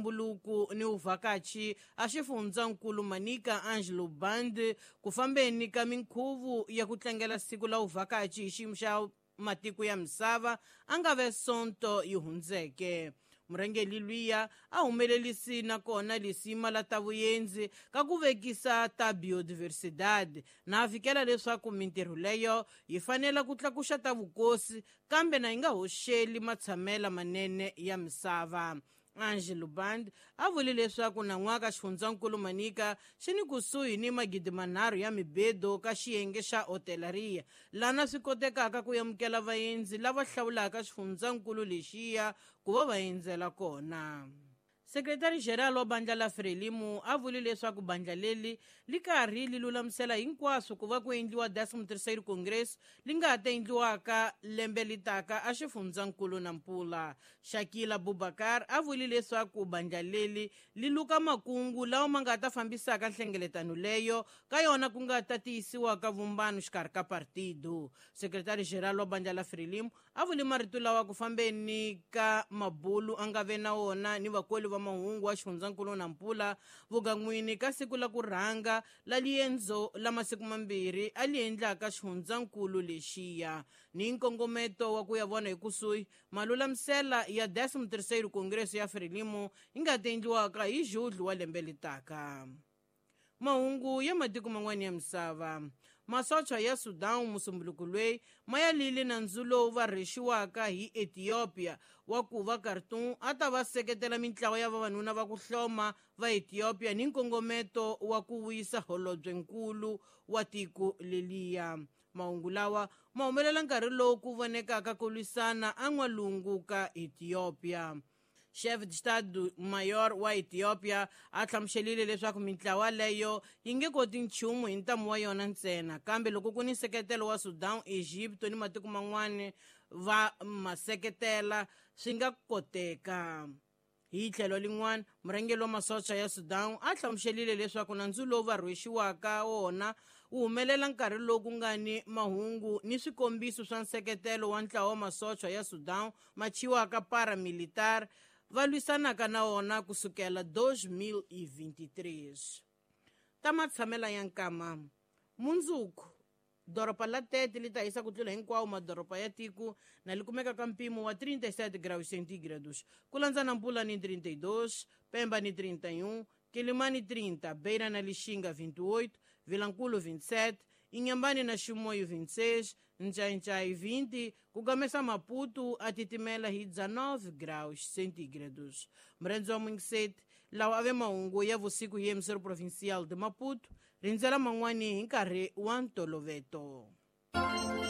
Ntumbuluko ni uvhakachi a xifundzankulu Manica Angelo Band ku fambeni ka minkhuvo ya ku tlangela siku la uvhakachi hi xiyimo xa matiko ya misava a nga ve sonto yi hundzeke. Murhangeri luya a humelerisi nakona lisima la ta vuendzi ka ku vekisa ta biodiversidad na a fikela leswaku mintirho leyo yi fanela ku tlakuxa ta vukosi kambe na yi nga hoxeli matshamela manene ya misava. Angelo Band a vule leswaku nan'waka xifundzankulu Manica xi ni kusuhi ni 3,000 ya mibedo ka xiyenge xa hotelaria lana swi kotekaka ku amukela vaendzi lava hlawulaka xifundzankulu lexiya ku va va endzela kona. Sekretari General wa bandla la Frelimo a vule leswaku bandla leri li karhi li lulamisela hinkwaswo ku va ku endliwa 13º Congress li nga ta endliwaka lembe litaka a xifundzankulu Nampula. Shakila Bubakar a vule leswaku bandla leri li luka makungu lawa ma nga ta fambisaka nhlengeletano leyo ka yona ku nga ta tiyisiwaka vumbano xikarhi ka partido. Sekretari General wa bandla la Frelimo a vule marito lawa ku fambeni ka mabulu a nga ve na wona ni vakoli va mahungu wa xifundzankulu Nampula vugan'wini ka siku la ku rhanga la liendzo la masiku mambirhi a li endlaka xifundzankulu lexiya ni nkongometo wa ku ya vona hi kusuhi malulamisela ya 13º Congresso ya Frelimo yi nga ta endliwaka hi Julho wa lembe litaka. Mahungu ya matiko man'wana ya misava. Masocha ya Sudan musumbuluko loyi ma ya lile nandzu lowu va rhexiwaka hi Ethiopia wa ku va Khartoum a ta va seketela mintlawa ya vavanuna va ku hloma va Ethiopia ni nkongometo wa ku vuyisa holobyenkulu wa tiko leliya. Mahungu lawa ma humelela nkarhi lowu ku vonekaka ku lwisana en'walungu ka Ethiopia. Chef d'Estado Mayor wa Ethiopia a hlamuselile leswaku mintlawa leyo yi nge koti nchumu hi ntamu wa yona ntsena kambe loko ku ni nseketelo wa Sudan, Egypt ni matiko man'wana va ma seketela swi nga koteka. Hi tlhelo lin'wana, murhangeri wa masocha ya Sudan a hlamuselile leswaku nandzu lowu va rhwexiwaka wona wu humelela nkarhi lowu ku nga ni mahungu ni swikombiso swa nseketelo wa ntlawa wa masocha ya Sudan ma thyiwaka paramilitar va lwisanaka na wona kusukela 2023. Ta matshamela ya nkama. Mundzuku doroba la Tete li ta hisa ku tlula hinkwawo madoroba ya tiko na li kumeka ka mpimo wa 37 graus centígrados, ku landza Nampula ni 32, Pemba ni 31, Quelimane 30, Beira na Lixinga 28, Vilankulo 27, Inhambane na Chimoio 26, Nchai 20, ku gamesa Maputo a titimela hi 19 graus centígrados. Mrendzo wa Mwingiseti, lawa ave mahungu ya vusiku hi emissoro provincial de Maputo, rindzela man'wani hi nkarhi wa ntoloveto.